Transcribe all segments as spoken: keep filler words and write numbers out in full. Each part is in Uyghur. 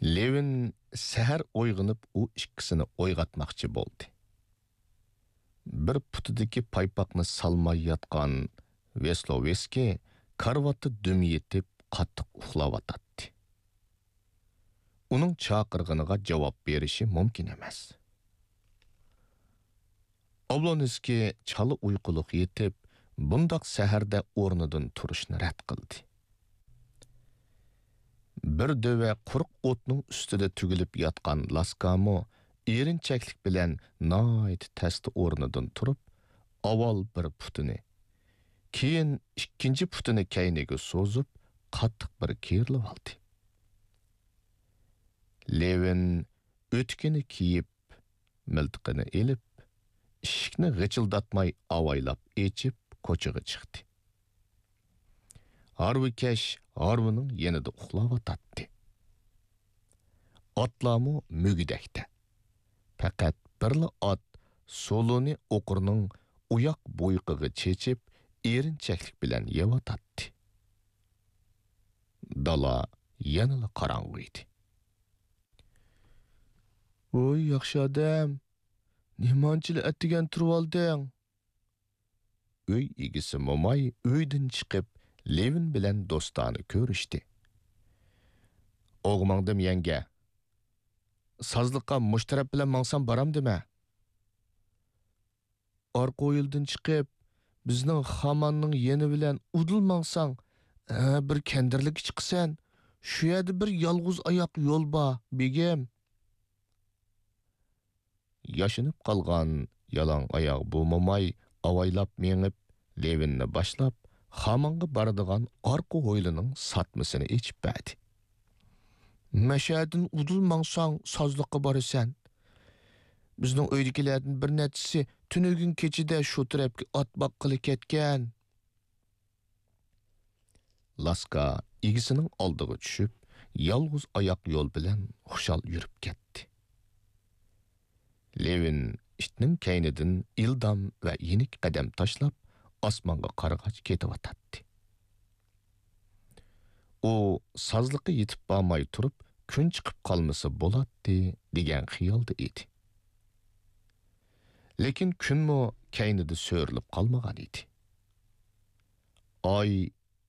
لېۋىن سەھەر ئويغىنىپ ئۇ ئىككىسىنى ئويغاتماقچى بولدى. بىر پۇتىدىكى پايپاقنى سالماي ياتقان ۋېسلوۋېسكىي كارىۋاتتا دۈم يېتىپ قاتتىق ئۇخلاۋاتاتتى. ئۇنىڭ چاقىرغىنىغا جاۋاب بېرىشى مۇمكىن ئەمەس. ئابلونسكىي چالا ئۇيقۇلۇق يېتىپ، بۇنداق سەھەردە ئورنىدىن تۇرۇشنى رەت قىلدى. بىر دۆۋە قۇرۇق ئوتنىڭ ئۈستىدە تۈگۈلۈپ ياتقان لاسكامۇ ئېرىنچەكلىك بىلەن ناھايىتى تەستە ئورنىدىن تۇرۇپ، ئاۋۋال بىر پۇتىنى، كېيىن ئىككىنچى پۇتىنى كەينىگە سوزۇپ، قاتتىق بىر كېرىلىۋالدى. لېۋىن ئۆتۈكىنى كىيىپ، مىلتىقىنى ئېلىپ، ئىشىكنى غىچىلداتماي ئاۋايلاپ ئېچىپ، كوچىغا چىقتى. ھارۋىكەش ھارۋىنىڭ يېنىدا ئۇخلاۋاتاتتى. ئاتلارمۇ مۈگدەكتە. پەقەت بىرلا ئات سولۇنى ئوقۇرنىڭ ئۇياق بويىقىغا چېچىپ، ئېرىنچەكلىك بىلەن يەۋاتاتتى. دالا يەنىلا قاراڭغۇ ئىدى. ۋوي، ياخشى ئادەم، نېمانچىلا ئەتىگەن تۇرۇۋالدىڭ؟ ئۆي ئىگىسى موماي ئۆيدىن چىقىپ، لېۋىن بىلەن دوستانە كۆرۈشتى. ئوغۇ ماڭدىم، يەڭگە. سازلىققا مۇشۇ تەرەپ بىلەن ماڭسام بارامدىمەن؟ ئارقا ھويلىدىن چىقىپ، بىزنىڭ خاماننىڭ يېنى بىلەن ئۇدۇل ماڭساڭ، ھە، بىر كەندىرلىككە چىقىسەن. شۇ يەردە بىر يالغۇز ئاياق يول بار، بېگىم. ياشىنىپ قالغان يالاڭ ئاياغ بۇ موماي ئاۋايلاپ مېڭىپ، لېۋىننى باشلاپ، خامانغا بارىدىغان ئارقا ھويلىنىڭ ساتمىسىنى ئېچىپ بەردى. مەشەدىن ئۇدۇل ماڭساڭ، سازلىققا بارىسەن. بىزنىڭ ئۆيدىكىلەردىن بىر نەچچىسى تۈنۈگۈن كېچىدە شۇ تەرەپكە ئات باققىلى كەتكەن. لاسكا ئىگىسىنىڭ ئالدىغا چۈشۈپ، يالغۇز ئاياق يول بىلەن خۇشال يۈرۈپ كەتتى. لېۋىن ئىتنىڭ كەينىدىن ئىلدام ۋە يېنىك قەدەم تاشلاپ، ئاسمانغا قارىغاچ كېتىۋاتاتتى. ئۇ سازلىققا يېتىپ بارماي تۇرۇپ، كۈن چىقىپ قالمىسا بولاتتى، دېگەن خىيالدا ئىدى. لېكىن كۈنمۇ كەينىدە سۆرىلىپ قالمىغان ئىدى. ئاي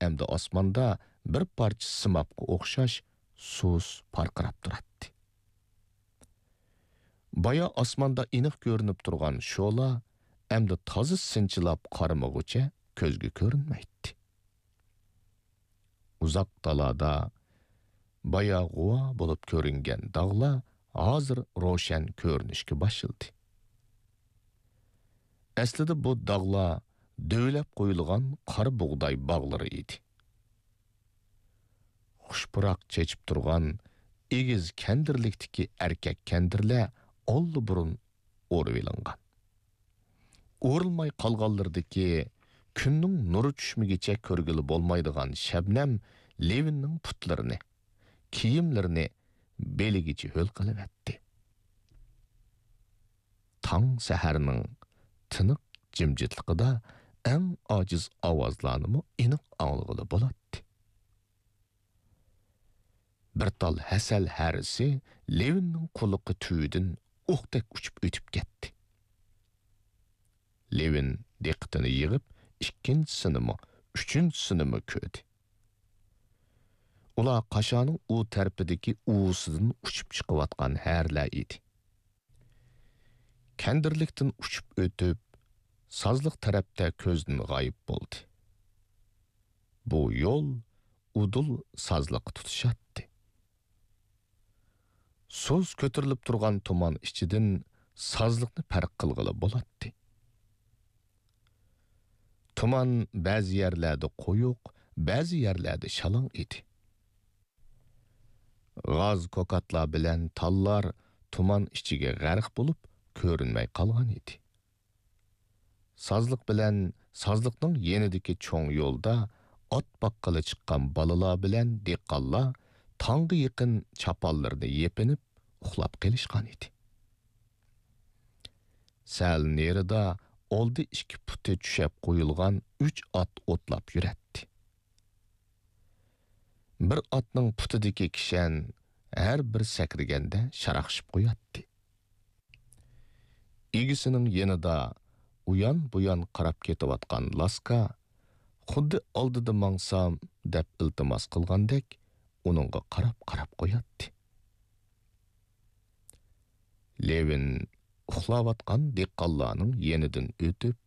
ئەمدى ئاسماندا بىر پارچە سىمابقا ئوخشاش سۇس پارقىراپ تۇراتتى. بايا ئاسماندا ئېنىق كۆرۈنۈپ تۇرغان شولا ئەمدى تازا سىنچىلاپ قارىمىغۇچە كۆزگە كۆرۈنمەيتتى. ئۇزاق دالادا بايا غۇۋا بولۇپ كۆرۈنگەن داغلار ھازىر روشەن كۆرۈنۈشكە باشلىدى. ئەسلىدە بۇ داغلار دۆۋىلەپ قويۇلغان قارا بۇغداي باغلىرى ئىدى. خۇش پۇراق چېچىپ تۇرغان ئېگىز كەندىرلىكتىكى ئەركەك كەندىرلەر ئاللىبۇرۇن ئورۇۋېلىنغان. ئورۇلماي قالغانلىرىدىكى كۈننىڭ نۇرى چۈشمىگىچە كۆرگىلى بولمايدىغان شەبنەم لېۋىننىڭ پۇتلىرىنى، كىيىملىرىنى بېلىگىچە ھۆل قىلىۋەتتى. تاڭ سەھەرنىڭ تىنىق جىمجىتلىقىدا ئەڭ ئاجىز ئاۋازلارنىمۇ ئېنىق ئاڭلىغىلى بولاتتى. بىر تال ھەسەل ھەرىسى لېۋىننىڭ قۇلىقى تۈۋىدىن ئوقتەك ئۇچۇپ ئۆتۈپ كەتتى. لېۋىن دىققىتىنى يىغىپ، ئىككىنچىسىنىمۇ، ئۈچىنچىسىنىمۇ كۆردى. ئۇلار قاشانىڭ ئۇ تەرىپىدىكى ئۇۋىسىدىن ئۇچۇپ چىقىۋاتقان ھەرىلەر ئىدى. كەندىرلىكتىن ئۇچۇپ ئۆتۈپ، سازلىق تەرەپتە كۆزدىن غايىب بولدى. بۇ يول ئۇدۇل سازلىققا تۇتىشاتتى. سۇس كۆتۈرۈلۈپ تۇرغان تۇمان ئىچىدىن سازلىقنى پەرق قىلغىلى بولاتتى. تۇمان بەزى يەرلەردە قويۇق، بەزى يەرلەردە شالاڭ ئىدى. غاز كوكاتلار بىلەن تاللار تۇمان ئىچىگە غەرق بولۇپ، كۆرۈنمەي قالغان ئىدى. سازلىق بىلەن سازلىقنىڭ يېنىدىكى چوڭ يولدا ئات باققىلى چىققان بالىلار بىلەن دېھقانلار تاڭغا يېقىن چاپانلىرىنى يېپىنىپ ئۇخلاپ قېلىشقان ئىدى. سەل نېرىدا ئالدى ئىككى پۇتى چۈشەپ قويۇلغان ئۈچ ئات ئوتلاپ يۈرەتتى. بىر ئاتنىڭ پۇتىدىكى كىشەن ھەر بىر سەكرىگەندە شاراقشىپ قوياتتى. ئىگىسىنىڭ يېنىدا ئۇيان-بۇيان قاراپ كېتىۋاتقان لاسكا خۇددى ئالدىدا ماڭسام دەپ ئىلتىماس قىلغاندەك ئۇنىڭغا قاراپ-قاراپ قوياتتى. لېۋىن ئۇخلاۋاتقان دېھقانلارنىڭ يېنىدىن ئۆتۈپ،